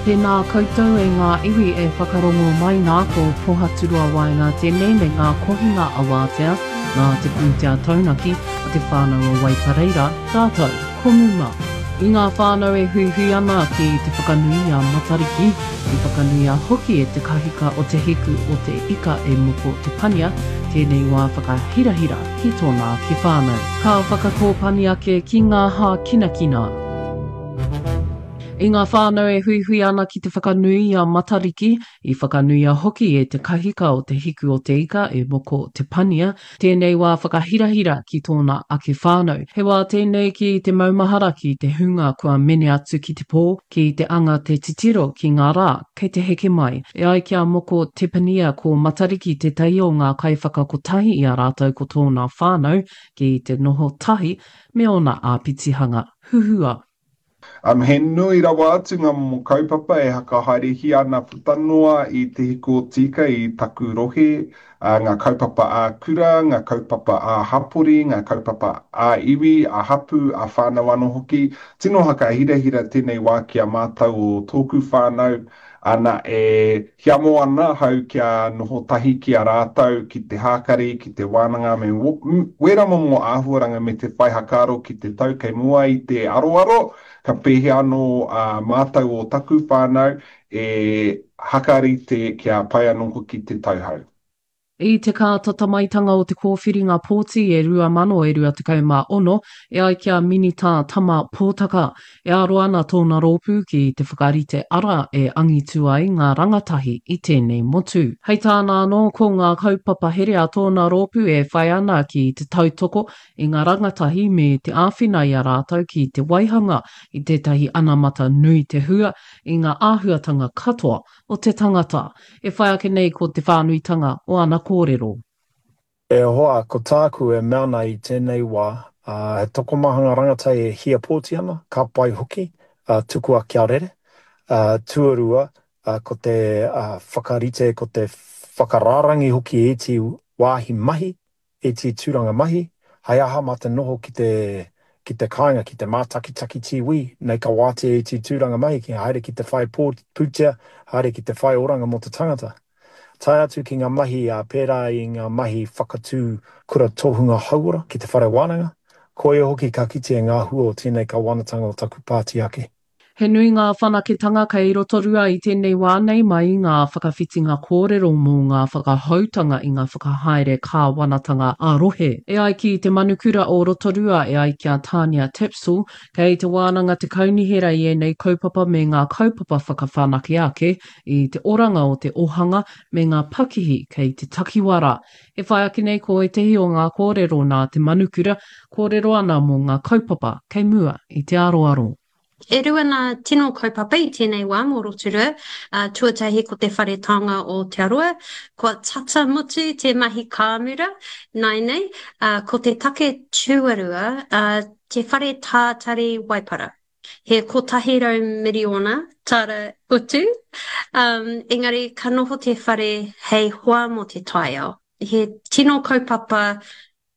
Tēnā koutou e ngā iwi e whakarongo mai nā, ko Pohaturoa Waenga tēnei me ngā kohinga awātea nā te pūtea taunaki a te whānau o Waipareira rātou ko Muma. I ngā whānau e huihui ana ki te whakanui i a Matariki, i whakanuia hoki e te kahika o Te Hiku o Te Ika e Moko Te Pania tēnei wā whakahirahira ki tōna ake whānau. Ka whakakōpani ake ki ngā hākinakina. I ngā whānau e huihui ana ki te whakanui i a Matariki, i whakanuia hoki e te kahika o Te Hiku o Te Ika e Moko Te Pania, tēnei wā whakahirahira ki tōna ake whānau. He wā tēnei ki te maumahara ki te hunga kua mene atu ki te pō, ki te anga te titiro ki ngā rā kei te heke mai. E ai ki a Moko Te Pania ko Matariki tētahi o ngā kaiwhakakotahi i a rātou ko tōna whānau ki te noho tahi me ōna āpitihanga huhua. Um, he nui rawa atu ngā momo kaupapa e hakahaerehia ana puta noa i Te Hiku o Tīka i taku rohe, uh, ngā kaupapa ā-kura, ngā kaupapa ā-hapori, ngā kaupapa ā-iwi, ā-hapū, ā-whānau anō hoki. Tino hakahirahira tēnei wā ki a mātou o tōku whānau, ana, e hiamo ana ahau kia noho tahi ki a rātou, ki te hākari, ki te wānanga me wērā momo āhuaranga me te whai hakaaro ki te tau kei mua i te aroaro, ka pēhea anō ā mātou o taku whānau e hakarite kia pai anō hoki te tauhou. I te kātatamaitanga o te kōwhiringa pōti e 2026, e ai ki a Minita Tama Pōtaka, e aro ana tōna rōpū ki te whakarite ara e angitu ai ngā rangatahi i tēnei motu. Hei tāna anō, ko ngā kaupapa here a tōna rōpū e whai ana ki te tautoko i ngā rangatahi me te āwhina i a rātou ki te waihanga i tētahi anamata nui te hua i ngā āhuatanga katoa o te tangata. E whai ake nei ko te whānuitanga o ana kōrero. E hoa, ko tāku e mea ana i tēnei wā, he tokomaha ngā rangatahi e hia pōti ana, ka pai hoki, tukua kia rere. Tuarua, ko te whakarite, ko te whakarārangi hoki i ēti wāhi mahi, ēti tūranga mahi, hai aha mā te noho ki te, ki te kāinga, ki te mātakitaki TV, nei ka wātea ēti tūranga mahi ki haere ki te whai pūtea, haere ki te whai oranga mō te tangata. Tae atu ki ngā mahi pērā i ngā mahi whakatū kura tohunga hauora ki te whare wānanga, koia hoki ka kitea ngā hua o tēnei kawanatanga o taku pāti ake. He nui ngā whanaketanga kei Rotorua i tēnei wā nei mai i ngā whakawhitinga kōrero mō ngā whakahoutanga i ngā whakahaere kāwanatanga ā-rohe. E ai ki te manukura o Rotorua e ai ki a Tania Tapsell, kei te wānanga te kaunihera i ēnei kaupapa me ngā kaupapa whakawhanake ake i te oranga o te ohanga me ngā pakihi kei te takiwā rā. E whai ake nei ko ētehi o ngā kōrero nā te manukura, kōrero ana mō ngā kaupapa kei mua i te aroaro. E rua ngā tino kaupapa i tēnei wā mō Rotorua. Tuatahi ko te Whare Taonga o Aotearoa. Kua tata mutu te mahi kāmura nāianei. Ko te take tuarua, te Whare Tātari Waipara. He 100 miriona tāra utu, engari ka noho te whare hei hoa mō te taiao. He tino kaupapa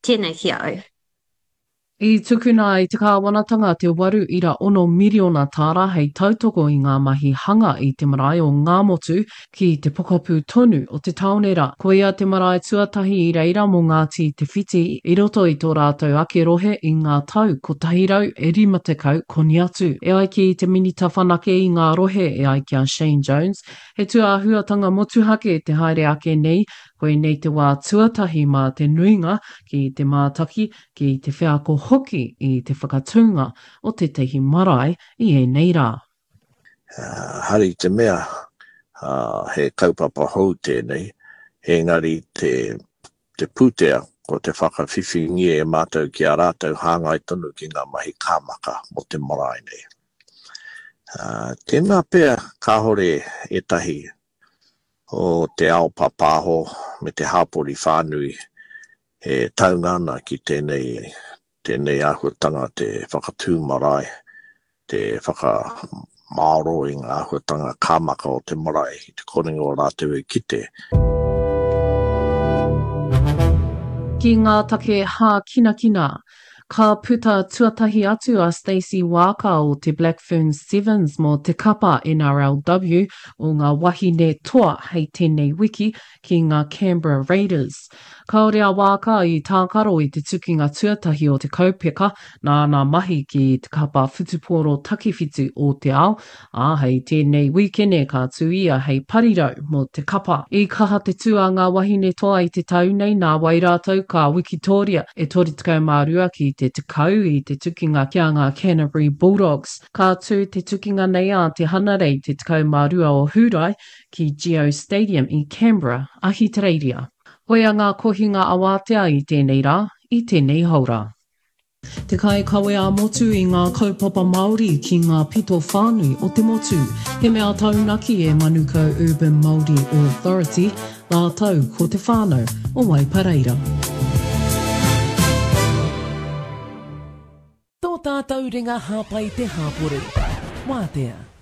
tēnei ki a au. I tukuna e te kāwanatanga te 8.6 miriona tāra hei tautoko i ngā mahi hanga i te marae o Ngāmotu ki te pokapū tonu o te tāone rā. Koia te marae tuatahi i reira mō Ngāti Te Whiti i roto i tō rātou ake rohe i ngā tau 150 koni atu. E ai ki te Minita Whanake i ngā rohe e ai ki a Shane Jones, he tūāhuatanga motuhake te haere ake nei, koinei te wā tuatahi mā te nuinga ki te mātaki ki te wheako hoki i te whakatūnga o tētahi marae i ēnei rā. Hari te mea he kaupapa hou tēnei, engari te te pūtea ko te whakawhiwhingia e mātou ki a rātou hāngai tonu ki ngā mahi kāmaka mō te marae nei. Tēnā pea kāore ētahi o te ao pāpāho me te hāpori whānui E taunga ana ki tēnei, tēnei āhuatanga te whakatū marae, te whakamāoro i ngā āhuatanga kāmaka o te marae i te korenga o rātou e kite. Ki ngā take hākinakina. Ka puta tuatahi atu a Stacey Waaka o te Black Ferns Sevens mō te kapa NRLW o ngā wahine toa hei tēnei wiki ki ngā Canberra Raiders. Kāore a Waaka i tākaro i te tukinga tuatahi o te kaupeka nā ana mahi ki te kapa whutupōro takiwhitu o te ao, ā, hei tēnei wīkene ka tū ia hei parirau mō te kapa. I kaha te tū a ngā wahine toa i te tau nei, nāwai rātou ka wikitōria e 32 ki te 10 i te tukinga ki a ngā Canterbury Bulldogs. Ka tū te tukinga nei ā te Hanarei te 12 o Hūrae ki Geo Stadium i Canberra, Ahitereiria. Koia ngā kohinga awātea i tēnei rā, i tēnei haora. Te kaikawe ā-motu i ngā kaupapa Māori ki ngā pito whānui o te motu. He mea taunaki e Manukau Urban Māori Authority rātou ko te whānau o Waipareira. Tō tātou ringa hāpai te hāpori. Wātea.